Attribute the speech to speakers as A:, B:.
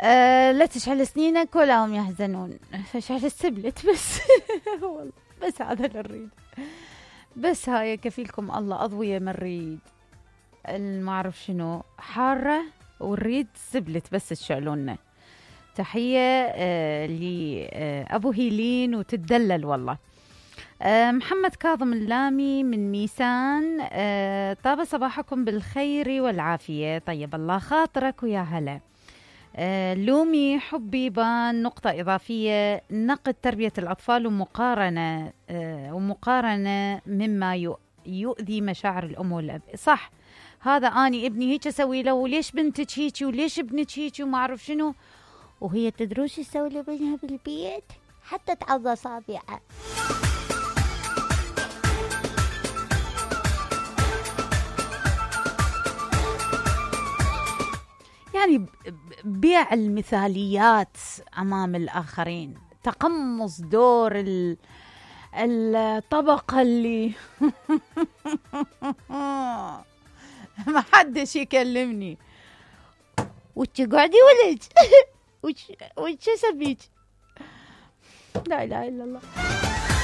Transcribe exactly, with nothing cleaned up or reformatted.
A: أه لا تشعل سنينك ولا هم يحزنون، فشعل السبلت بس. والله بس هذا اللي نريد، بس هاي كفيلكم الله أضوية ما نريد ما أعرف شنو حارة، ونريد سبلت بس تشعلونا. تحية أه لأبو هيلين وتدلل والله. أه محمد كاظم اللامي من ميسان، أه طاب صباحكم بالخير والعافية، طيب الله خاطرك ويا هلا. أه لومي حبي بان نقطة إضافية، نقد تربية الأطفال ومقارنة أه ومقارنة مما يؤذي مشاعر الأم والأب. صح، هذا أني ابني هيك أسوي له، وليش بنتك هيك وليش ابنك هيك وما أعرف شنو، وهي تدروش تسوي لابنها بالبيت حتى تعض أصابعها. يعني بيع المثاليات أمام الآخرين، تقمص دور الطبقة اللي ما حدش يكلمني، وش قاعدي ولج وش وش سبيج. لا إله إلا الله.